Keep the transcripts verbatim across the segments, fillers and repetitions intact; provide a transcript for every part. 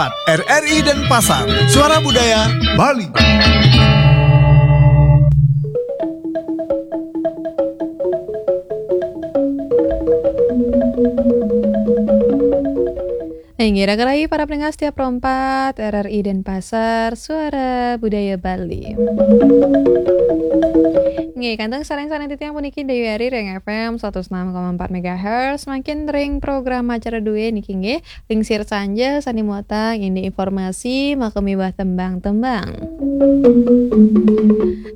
empat, R R I Denpasar, Suara Budaya Bali. Inggih, raka rayi para pendengar setia Pro empat, R R I Denpasar, Suara Budaya Bali. Inggih, kantun sareng-sareng titiang puniki Dewi Ari ring F M seratus enam koma empat megahertz, mangkin ring program acara dué niki inggih, Lingsir Sanja sané muatang indik informasi, makamiwah tembang-tembang.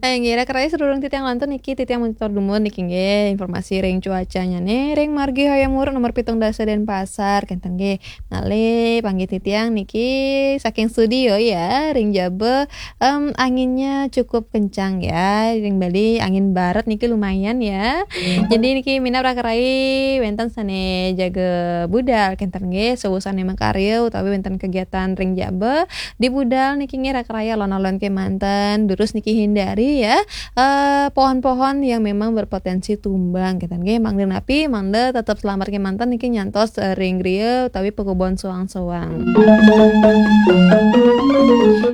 Eh, inggih, raka rayi sadurung titiang lantur niki, titiang matur dumun niki inggih, informasi ring cuacanya nih, ring Margi Hayam Wuruk nomor pitung dasa Denpasar, kénten nggih. Malih panggih titiang niki saking studio ya, ring jaba, em, anginnya cukup kencang ya, ring Bali angin barat niki lumayan ya. Jadi niki minab raka rayi wénten sané jaga budal, kénten nggih, sawusané makarya utawi wénten kegiatan ring jaba, di budal niki nggih raka rayi alon-alon kémanten, durus niki hindari ya, eh, pohon-pohon yang memang berpotensi tumbang, kénten nggih, mangda napi, mangda tetep selamet kémanten niki nyantos, eh, ring griya utawi pakubon soang-soang.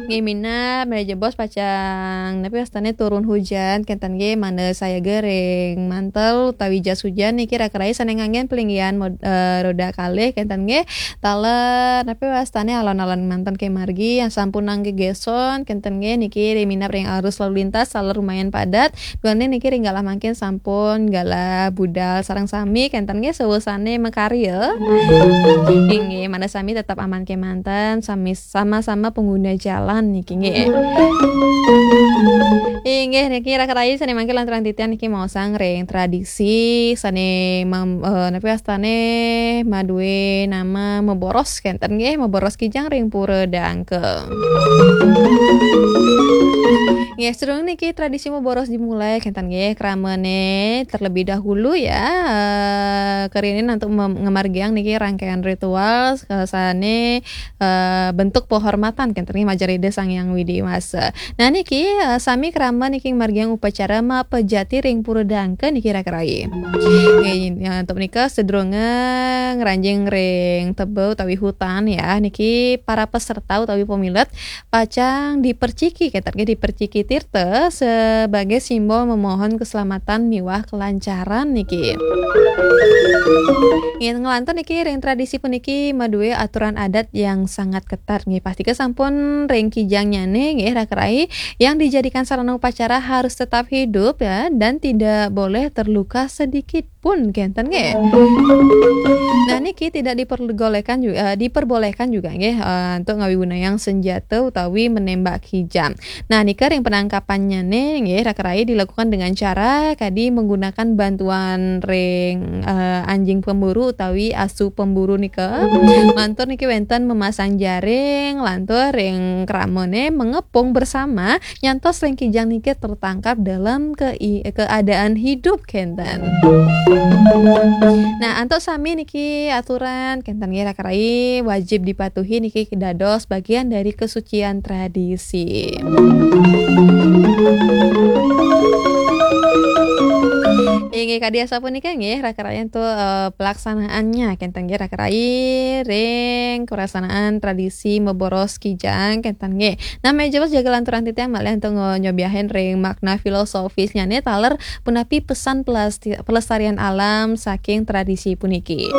Nggih minab, malih jebos pacang, napi wastané turun hujan, kénten nggih, mangda sayaga ring mantel utawi jas hujan niki raka rayi sané nganggén palinggihan mod-, eh, roda kalih, kénten nggih. Taler, napi wastané alon-alon manten ké margi, yang sampun nang gegéson, kénten nggih, niki ring minab ring arus lalu lintas, taler lumayan padat. Duaning niki ring galah mangkin sampun galah budal sareng sami, kénten nggih, sawusané makarya. Inggih, mangda sami tetep aman kémanten, sami sama-sama pengguna jalan niki nggih. Inggih, niki raka rayi sané mangkin lanturang titiang niki maosang ring tradisi sané mam-, eh, napi wastané madué nama maboros kénten nggih, maboros kijang ring Pura Dangka. Nggih, sadurung niki tradisi maboros dimulai, kénten nggih, kramané terlebih dahulu ya. Eh, karianin untuk mem-, ngamargiang niki rangkaian ritual, eh, sané, eh, bentuk penghormatan, kénten nggih, majeng Ida Sang Hyang Widhi Wasa. Nah, niki, eh, sami krama niki ngamargiang upacara mapejati ring Pura Dangka niki raka rayi. Nggih, ya, untuk menika sadurunge ngranjing ring tebel utawi hutan ya, niki para peserta utawi pamilet pacang diperciki, kénten nggih, diperciki tirta sebagai simbol memohon keselamatan miwah kelancaran niki. Nggih, nglantur niki ring tradisi puniki madué aturan adat yang sangat ketat nggih. Pastika sampun ring kijangnyané nggih raka rayi yang dijadikan sarana upacara harus tetap hidup ya dan tidak boleh terluka sedikit pun kénten nggih. Nah, niki tidak diperbolehkan juga, eh, diperbolehkan juga nggih, eh, untuk ngawigunayang senjata utawi menembak kijang. Nah, nika ring penangkapannyané nggih raka rayi dilakukan dengan cara kadi menggunakan bantuan ring, eh, anjing pemburu utawi asu pemburu nika. Lantur niki wénten memasang jaring, lantur ring kramané mengepung bersama nyantos ring kijang niki tertangkap dalam ke-, keadaan hidup kénten. Nah, antuk sami niki aturan kénten nggih raka rayi wajib dipatuhi niki dados bagian dari kesucian tradisi. Inggih kadi asapunika nggih raka rayi antuk, eh, pelaksanaannya kénten nggih raka rayi ring pelaksanaan tradisi maboros kijang kénten nggih. Nah, malih jebos jaga lanturang titiang malih antuk ngo-, nyobiahin ring makna filosofisnyané taler punapi pesan pelasti-, pelestarian alam saking tradisi puniki.